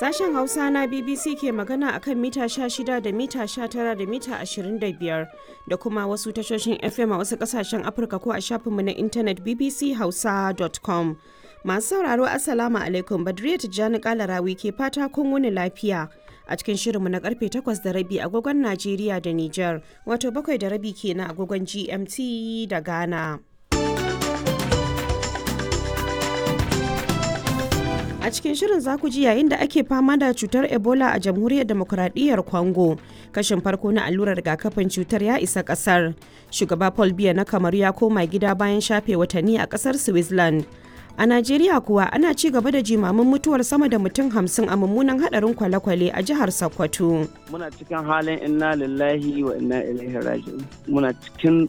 Sashen Hausa na BBC ke magana akan mita 16 da mita 19 da mita 25 da kuma wasu tashoshin FM a wasu kasashen Afirka ko a shafinmu na intanet bbchausa.com. Masu sauraro, Assalamu alaikum, Badriya Tijjani Kalarawi ke fata kun wuni lafiya. A cikin shirinmu na karfe 8:30 agogon Najeriya da Nijar, wato 7:30 kenan agogon GMT da Ghana. A cikin shirin za ku ji, yayin da ake fama da cutar Ebola a Jamhuriyar Demokuraɗiyyar Congo, kashin farko na allurar rigakafin cutar ya isa ƙasar. Shugaba Paul Biya na Kamaru ya koma gida bayan shafe watanni a ƙasar Switzerland. A Najeriya kuwa, ana ci gaba da jimamin mutuwar sama da mutum 50 a mummunan haɗarin kwale-kwale a jihar Sokoto. Muna cikin halin inna lillahi wa inna ilaihi raji'un. Muna cikin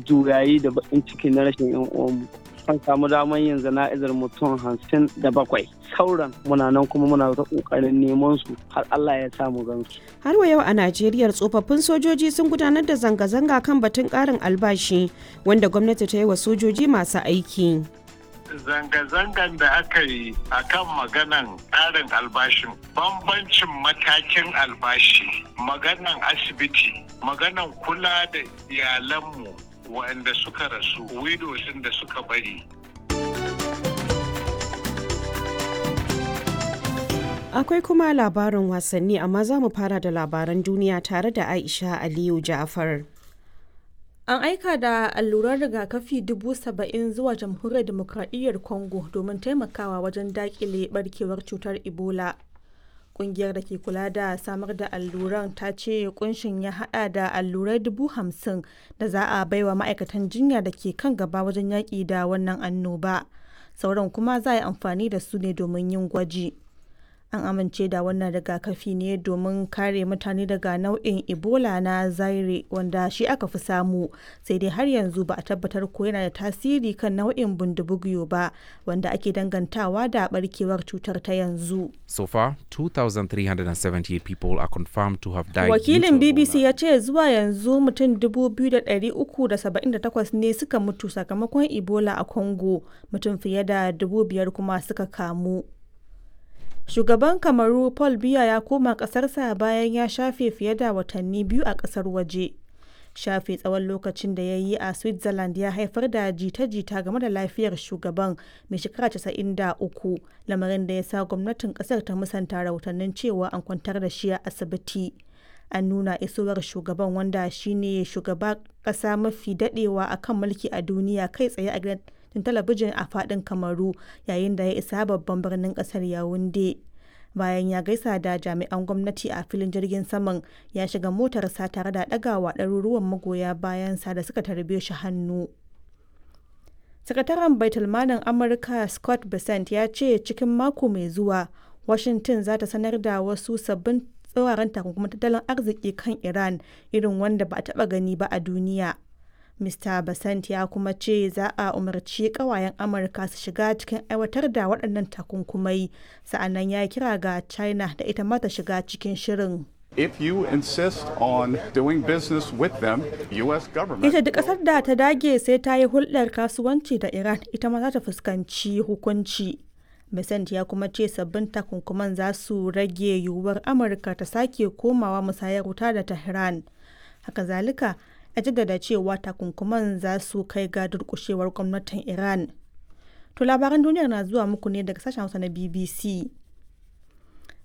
juyayi da baƙin ciki na rashin 'yan uwanmu. An samu damar yin zana'izar mutum 57, sauran muna nan kuma muna ta kokarin neman su har Allah ya samu gansu. Har wa yau a Najeriya, tsofaffin sojoji sun gudanar da zanga-zanga kan batun karin albashi wanda gwamnati ta yi wa sojoji masu aiki. Zanga-zangan da aka yi a kan maganan ƙarin albashin, bambancin matakin albashi, maganan asibiti, maganan kula da iyalanmu waɗanda suka rasu, widows da suka bari. Akwai kuma labarin wasanni, amma za mu fara da labaran duniya tare da Aisha Aliyu Ja'far. An aika da alluran rigakafi 70,000 zuwa Jamhuriyar Dimokradiyyar Congo domin taimakawa wajen dakile barkewar cutar Ebola. Kungiyar da ke kula da samar da alluran ta ce kunshin ya hada da allurai 50,000 da za a baiwa ma'aikatan jinya da ke kan gaba wajen yaƙi da wannan annoba. Sauran kuma za a yi amfani da su ne domin yin gwaji. An amince da wannan rigakafi ne domin kare mutane daga nau'in Ebola na Zaire, wanda shi aka fi samu, sai dai har yanzu ba a tabbatar ko yana da tasiri kan nau'in Bundibugyo ba, wanda ake dangantawa da barkewar cutar ta yanzu. So far, 2,378 people are confirmed to have died. Wakilin BBC ya ce zuwa yanzu mutum 2,378 ne suka mutu sakamakon Ebola a Congo, mutum fiye da 5,000 kuma suka kamu. Shugaban Kamaru Paul Biya ya koma ƙasarsa bayan ya shafe fiye da watanni 2 a ƙasar waje. Shafe tsawon lokacin da ya yi a Switzerland ya haifar da jita-jita game da lafiyar shugaban mai shekara 93, lamarin da ya sa gwamnatin ƙasar ta musanta rahotannin cewa an kwantar da shi a asibiti. An nuna isowar shugaban, wanda shine shugaba ƙasa mafi daɗewa a kan mulki a duniya, kai tsaye a gidan talabijin a fadin Kamaru yayin da ya isa babban birnin kasar Yawunde. Bayan ya gaisa da jami'an gwamnati a filin jirgin saman, ya shiga motarsa tare da ɗagawa ɗaruruwan magoya bayansa da suka tarbe shi hannu. Sakataren Baitulmalin Amurka Scott Bessent ya ce cikin mako mai zuwa Washington za ta sanar da wasu sabbin tsauraran takunkumin tattalin arziki kan Iran, irin wanda ba a taɓa gani ba a duniya. Mr. Basant ya kuma ce za a umarci kawayen Amurka su shiga cikin aiwatar da waɗannan takunkumai, sa'annan ya kira ga China da ita ma ta shiga cikin shirin. If you insist on doing business with them, U.S. government. Ita duk ƙasar da ta dage sai ta yi hulɗar kasuwanci da Iran, ita ma za ta fuskanci hukunci. Besant ya kuma ce sabbin takunkuman za su rage yiwuwar Amurka ta sake komawa musayar wuta da Tehran. Haka zalika, ya jaddada cewa takunkuman za su kai ga durkushewar gwamnatin Iran. To, labaran duniyar na zuwa muku ne daga sashen Hausa na BBC.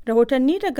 Rahotanni daga